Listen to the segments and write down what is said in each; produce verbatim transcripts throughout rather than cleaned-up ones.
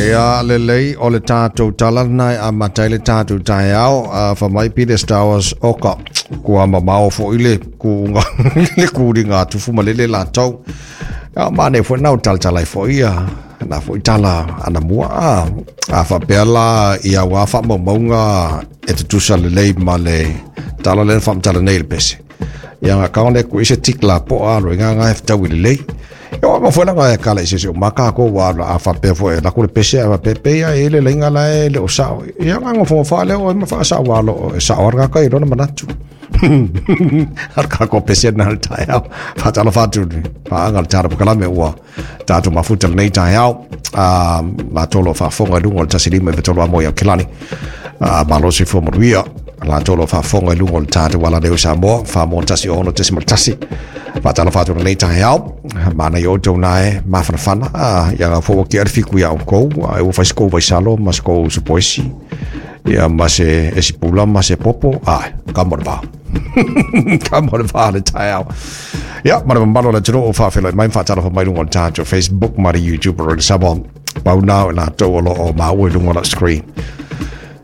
Ia lelei o le tatou tala lena e amata ai le tatou taeao a fa mai Peter Stowers oka kua mamao foʻi le kuuga le kūliga a tufu ma lele latou a manaia foi na o talatala ai foʻi ia na foʻi tala anamua a a faapea la ia uā faamaumauga e tutusa lelei ma le tala lea na faamatala nei i le pese ia ga le ku ise tik la po a lo nga nga fetaui lelei. Ia ma foi langa e kala ise se o maka ko wa a faapea foi la ku le pese a pepe ia e le lenga la e le o sao ia nga ngo fo fa le o ma fa sa wa lo e sa orga ka i lona manatu ar ka ko pese na le taeao faatalo fatu paaaga le tala pokalame ua tatou mafuta lenei taeao a latou lo faafofoga i luga o le tasi lima iva tolu amo i Aukilani a malo se fua manuia latou lo faafofoga i luga o le tatou ala leo Samoa Famoa tasi ono tesi ma tasi faatalo fatu lenei taeao manaia outou na e mafanafana a ia ga fua ki fiku ia oukou e ua fai se kou vaisalo ma se kou supoesi ia ma se esi pula ma se popo a ka mo le vā ka mo le vā le taeao ia ma le mamalo le atunuu o faafeloai mai faatalofa mai luga o le tatou Facebook ma le YouTube o le Samoa pau na o latou o loo maua i luga o la screen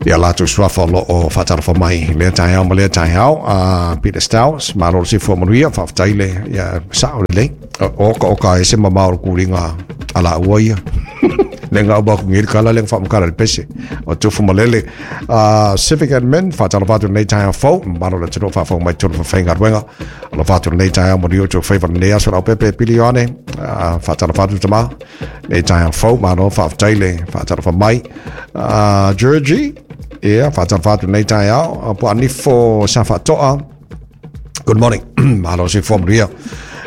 ia latou suafa o loo faatalofa mai lea taeao ma lea taeao a Peter Stowers malo le soifua manuia faafetai le ia sao lelei o ka oka e se mamao o le kūliga a laua ia le ngau ba ku ngil kala le faamakala le pese o tufu malele uh, civic admin faatalofa atu lenei taeao fou malo le atunuu faafofoga mai tolu fafaigaluega alofa atu lenei taeao manuia o tou faiva lenei aso lau pepe pili ioane uh, faatalofa atu tamā lenei taeao fou malo faafetai le faatalofa mai uh, Georgie ia faatalofa atu lenei taeao po anifo sa faatoa. Good morning, malo soifua manuia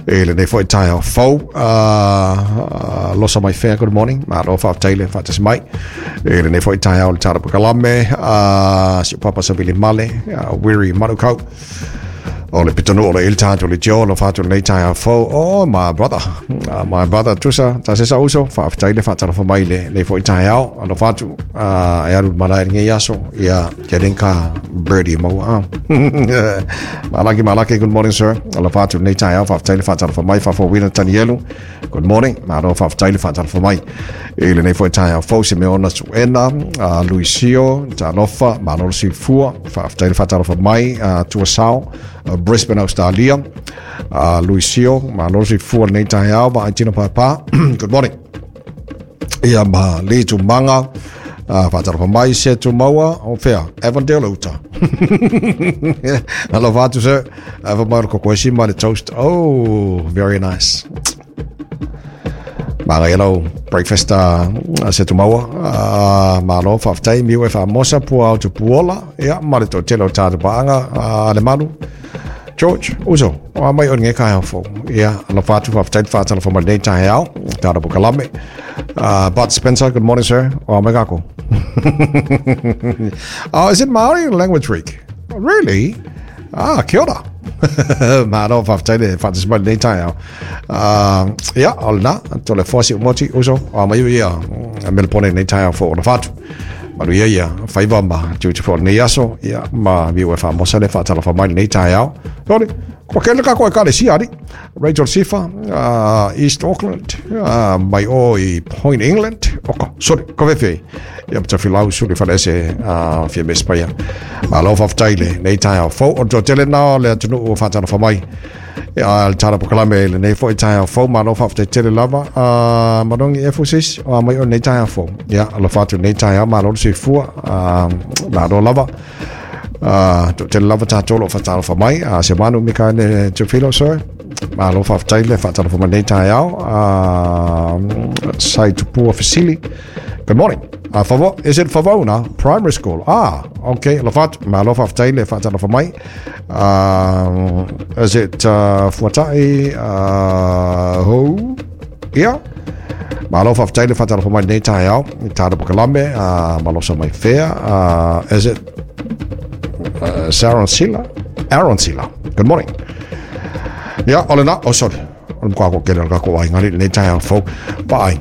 e lenei foi taeao fou uh, uh, losa mai fea. Good morning, malo faafetai le faatasi mai e lenei foi taeao le tala pakalame uh, si papa Savili Male uh, Wiri Manukau o le pitanu o le il tatou le tio lo fatu lenei taeao fou. Oh, my brother, uh, my brother Tusa tasesa uso faafetai le faatalofa mai le lenei foi taeao alo fatu uh, e alu malae lenei aso ia kerenka birdie maua malaki malaki. Good morning, sir, alo fatu lenei taeao faafetai le faatalofa mai faafouina Tanielu. Good morning, malo faafetai le faatalofa mai i lenei foi taeao fou Simeona Suena uh, Luisio talofa malo le soifua faafetai le faatalofa mai uh, Tuasao uh, Brisbane, Australia uh, Luisio malo le soifua lenei taeao vaai tino papa. Good morning ia ma le tumanga uh, faatalofa mai se tumaua o fea Avondale uta alofa atu sir ava mai o le kokoesi ma le toast. Oh, very nice. Maga lau breakfast uh, se tumaua uh, malo faafetai miu e faamosa pua au tupuola ia ma le toatele o tatou paaga uh, le malu George, uso, o a mai o nge kai fo. Ia, alofa atu faafetai faatalofa mai lenei taeao, tala pokalame. Uh, Bud Spencer, good morning, sir. O a mai kako. Oh, is it Maori language week? Really? Ah, kia ora. Malo faafetai le faatasi mai lenei taeao. Uh, ia, o lena, tole foasi o moti, uso, o a mai ia, melepone lenei taeao fo o na fatu. Manuia ia, faiva ma tiute fo lenei aso, ia, ma miu e faamosa le faatalofa mai lenei taeao. Sorry, ko kele ka koe kale si ari. Rachel Sifa, uh, East Auckland, uh, mai o i Point England. Oko, sorry, ko vefe. Ia pata filau suli falese uh, fia mespaia. Malo faafetai le nei taeao fou. O toatele na o le atunuu o faatalofa mai. Ia le tala pokalame lenei foi taeao fou. Malo faafetai tele lava. Uh, Manongi Efusis, o a mai o nei taeao fou. Ia, alofa atu nei taeao, malo le soifua. Uh, malo lava. Uh, toatele lava tatou lo faatalofa mai. Uh, se manu Mikaele Tufilo, sir. Malo faafetai le faatalofa mai nei taeao. Uh, Sai Tupua Fasili. Good morning. Uh, Favo, is it Favona Primary School? Ah, okay. Alofa atu. Malo faafetai le faatalofa mai. Uh, is it uh, Fuatai? Uh, who? Yeah. Malo faafetai le faatalofa mai nei taeao. Tala pokalame. Uh, malosa mai fea. Uh, is it uh, Saron Sila? Aaron Sila. Good morning. Yeah, o le na. Oh, sorry. O le mkwa ko kele o le kako ai ngari nei taeao fou. Bye.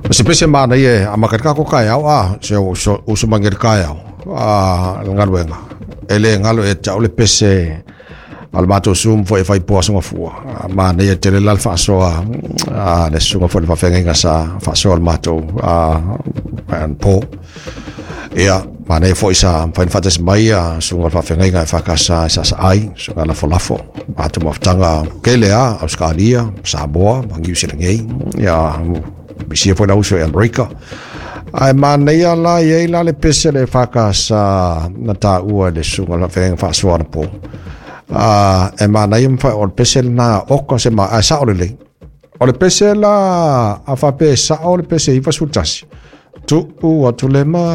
O se pese mana ie a makari kako kai au a se o so uso mangeri kai au a ngaluenga. E le ngalo e tau le pese A le matou Zoom foi e fai po aso gafua. Manaia tele la le faasoa a le susuga foi i le faafeagaiga sa faasoa le matou anapo. Ia, manaia foi sa mafai ona faatasi mai a susuga i le faafeagaiga e E F K S e saasaai, susuga lafolafo, matou mafutaga tele lava, Ausetalia, Samoa ma Niu Sila nei. Ia, misia foi le auso i Amerika. Ae manaia la e i ai la le pese a le E F K S na taua e le susuga i le faafeagaiga faasoa anapo. E manaia ma o le pese lena oka se ma, ae sao lelei. O le pese la a faapea e sao le pese ivasefulu tasi, tuu atu le